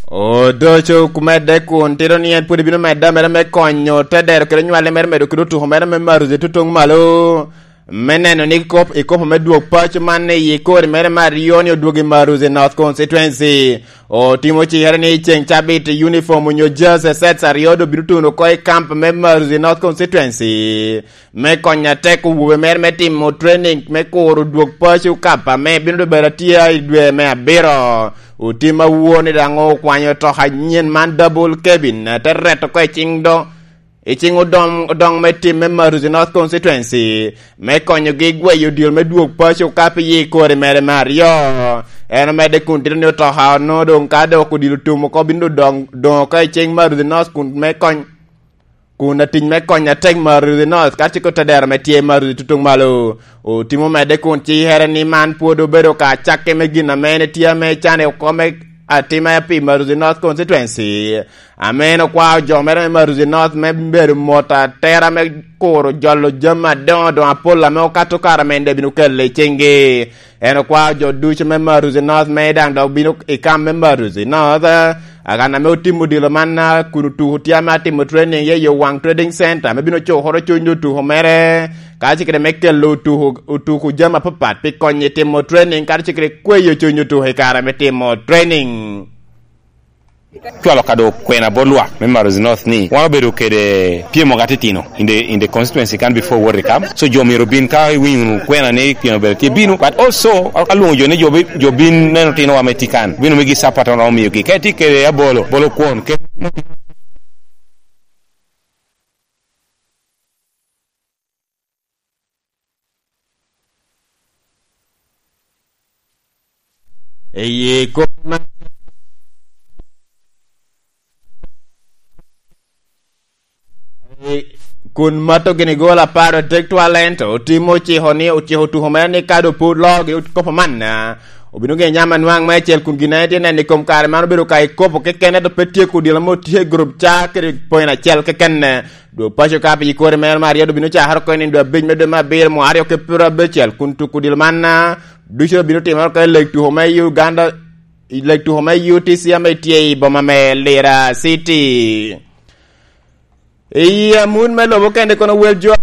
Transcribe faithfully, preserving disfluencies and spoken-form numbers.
Odoco kumedde kun tito ni en pwod ebino medde mere me konyo te dero kede nywale mere medo kede otuko mere me Maruzi tutuŋ malo. Me neno ni kop, i kopo me dwog paco man i kori mere me aryo ni odwogo i Maruzi North Constituency. Otimo cikere ni ceŋ cabit uniform onyo jersey sets aryo doŋ bino tuno oko i kamp me Maruzi North Constituency. Me konyo atek owobe mere me timo training me kuro dwog paco kap ame bino doŋ bedo atye i dwe me abiro. Otim awor ni daŋ okwanyo otoka anyen man double cabin, te reto oko i ciŋ do, i ciŋ odong, odong me tim me Maruzi North Constituency, me konyogi gweyo odilo me dwog paco kap i kori mere me aryo. En omedde kun tito ni otoka onongo doŋ ka dok odilo tum oko bino doŋ, doŋ oko i ciŋ Maruzi North kun me kony, kun atic me kony atek Maruzi North, ka cik otedero ame tye Maruzi tutuŋ malo. Otimo medde kun cikere ni man pwod obedo ka cakke me gin ame en etye ame cane oko me atima pi Maruzi North Constituency. Ame en okwao jo mere me Maruzi North me bedo mot atera me kuro jolo jami adoŋo doŋ apol ame okato kare ame en daŋ bino kelo i ciŋgi. En okwao jo ducu me Maruzi North me daŋ dok bino i kam me Maruzi North, akan ame otimo odilo man, a, kun otuko tye ame atimo training ye yo waŋ trading center, ame bino cukoro cuny otuko mere, ka cikere me kelo otuko, otuko jami apapat pi konyo i timo training, ka cikere kweyo cuny otuko i kare me timo training. Cwalo kado kwena bot lwak me Marozi North ni wan obedo kede pyemo ka titino in the, in the constituency kan before World Cup. So jo myero obin ka iwinyo wunu kwena ni pyemo obedo tye bino. But also alwoŋo jo ni jo bi-, jo bin neno tinowa me tye kan. Bino migi support wan omiyogi. Ka itye kede abolo, bolo kwon. Ke- Eye kop ma kun mato gini gol apar otek twal, ento otimo ociko ni, ociko tuko mere ni ka doŋ pwod loogi kopo man, obino gin nyam anwaŋ me acel kun gin en tye neno i kom kare man obedo ka i kopo keken, ento pe tyeko odilo mo tye i gurup ca kede point acel keken. Dwog paco ka pi kori mere me aryo obino cakere oko i nino dwe abic me dwe me abiro mwaka aryo ki pyerabicel, kun tuko odilo man, a, ducu obino timere oko i leg tuko me Uganda, i leg tuko me U T C ame tye i boma me Lira City. I amut me lobo kende kono wel jo